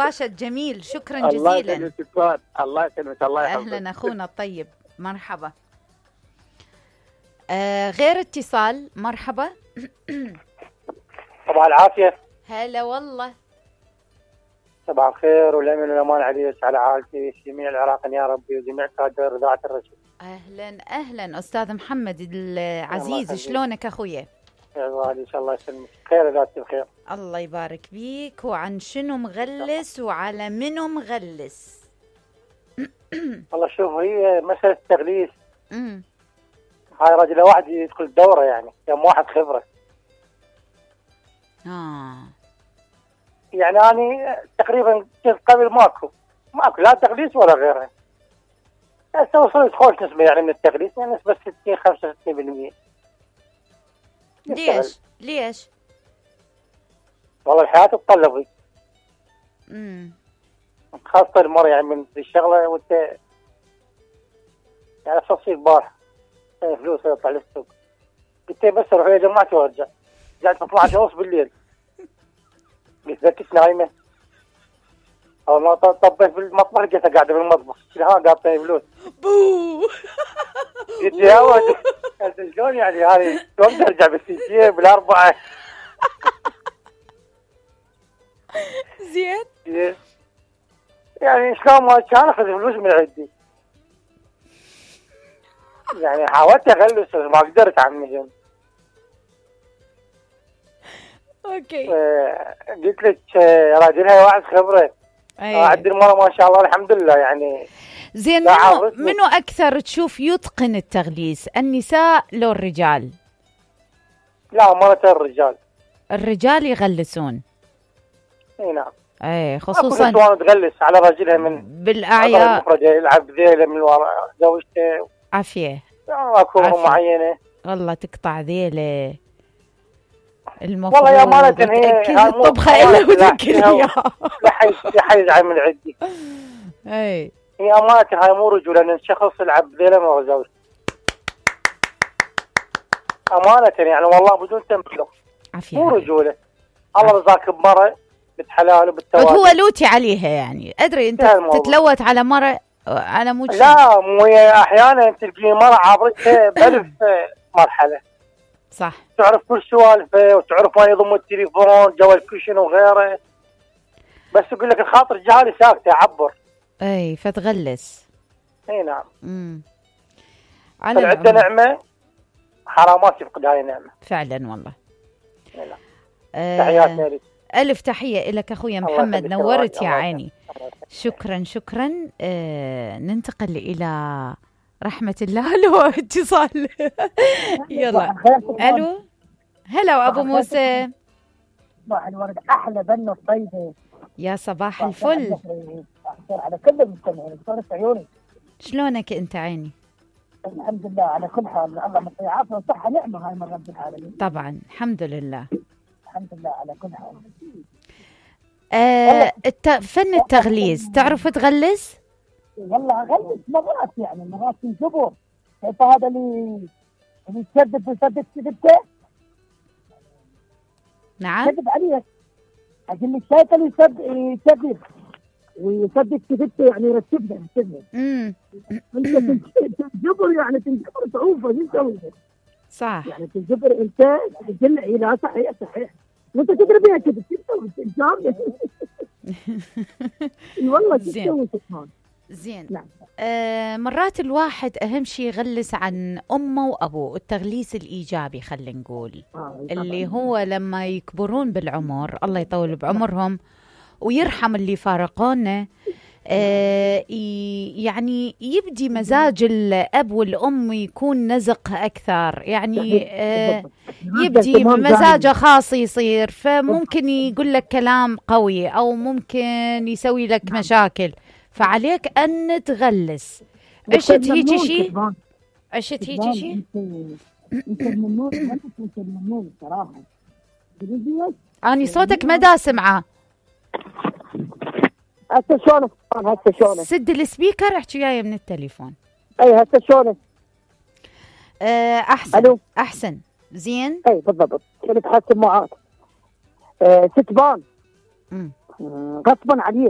باشا الجميل، شكرا الله جزيلا. يسلمك. الله يسلمك. الله يحفظك. أهلا أخونا الطيب، مرحبا. غير اتصال، مرحبا. صباح العافية. هلا والله. صباح الخير والأمن والأمان عليك على عائلتي جميع العراق يا ربي وجميع كادر إذاعة الرشيد. أهلا أهلا أستاذ محمد العزيز، شلونك أخويا؟ يا غالي إن شاء الله يسلمك خير ذاتي بخير. الله يبارك بيك. وعن شنو مغلس وعلى منو مغلس؟ والله شوف، هي مسألة التغليس. هاي رجل واحد يدخل الدورة يعني كم واحد خبرة. يعني أنا تقريبا قبل ماكو لا تغليس ولا غيره. هسه وصلت خوش نسبة يعني من التغليس، يعني نسبة 60-65%. ليش؟ والله الحياة تتطلب. خاصة المرة يعني من الشغلة وانت يعني تصير بارح فلوس يطلع للسوق، قلت بس اروح يا جماعتي وارجع. رجعت 12:30 بالليل، قلت ذكيت نايمة. أول ما طبيت بالمطبخ لقيتها قاعدة بالمطبخ، قاعدة فلوس. بو قلت يا ولد انت شلون يعني هذه شلون ترجع بالسيتين بالأربعة؟ زين يعني شلون ما كان اخذ فلوس من عندي. يعني حاولت اغلس ما قدرت عمي. اوكي. قلت لك راجلها واحد خبره. عند المرة ما شاء الله الحمد لله يعني. زين، منو اكثر تشوف يتقن التغليس، النساء لو الرجال؟ لا مرة الرجال يغلسون. اي نعم. اي خصوصا تغلس على رجلها من بالاعياد، يلعب ذيله من وراء زوجته. عافيه. اكو معينه والله تقطع ذيله. والله يا امانه هي الطبخه الا وتاكل اياها. لا يزعل من عندي. اي هي امانه هاي مو رجوله، لان الشخص يلعب ذيله مع زوجته امانه يعني والله بدون تمثيل. مو رجوله. الله رزاك بمره بالحلال وبالتوازن. هو لوتي عليها يعني، ادري انت تتلوت على مره، انا مو لا مو احيانا تلقي مره عابرتها بألف مرحله. صح. تعرف كل سوالفه وتعرف وين يضم التليفون جو الكشن وغيره، بس يقول لك الخاطر جهالي ساكته عبر. اي فتغلس. اي نعم. عندنا نعمه حرامات يفقد هاي النعمه فعلا والله. تحياتنا لك. ألف تحية لك أخويا محمد، نورت يا عيني. شكرا. ننتقل إلى رحمة الله. لو اتصال. يلا. ألو. هلا أبو موسى. صباح الورد، أحلى بنة الطيبة. يا صباح الفل على كل المستمعين. صارت عيوني. شلونك أنت عيني؟ الحمد لله على كل حال. الله يعطيه عافية وصحة نعمة هاي من رب العالمين. طبعا الحمد لله. الحمد لله على كل حال. فن التغليس، تعرف تغلس؟ والله أغلس مرات، يعني مرات تنجبر. كيف هذا اللي يسدد كذبته؟ نعم. كذب عليك. أقول لك شايف اللي يسدد ويسدد كذبته، يعني يرتبها. أنت تنجبر، يعني تنجبر صعوبة. شو تسوي؟ صح. يعني تنجبر أنت تقول لي لا صحيح وانت تدري بيها كذب والله تسوي سبحان. زين. نعم. مرات الواحد اهم شيء يغلس عن امه وابوه، التغليس الايجابي خلينا نقول. اللي هو لما يكبرون بالعمر، الله يطول بعمرهم ويرحم اللي فارقونا، يعني يبدي مزاج الأب والأم يكون نزق أكثر، يعني يبدي مزاجه خاص يصير، فممكن يقول لك كلام قوي أو ممكن يسوي لك مشاكل، فعليك أن تغلس. عشت هيك شيء؟ أني صوتك ما دا سمعه. هسه شلونك؟ سد السبيكر، احكي وياي من التليفون. اي هسه شلونك؟ احسن. ألو. احسن. زين. اي بالضبط. كنت حاسب معاك. ستبان غصبا عليك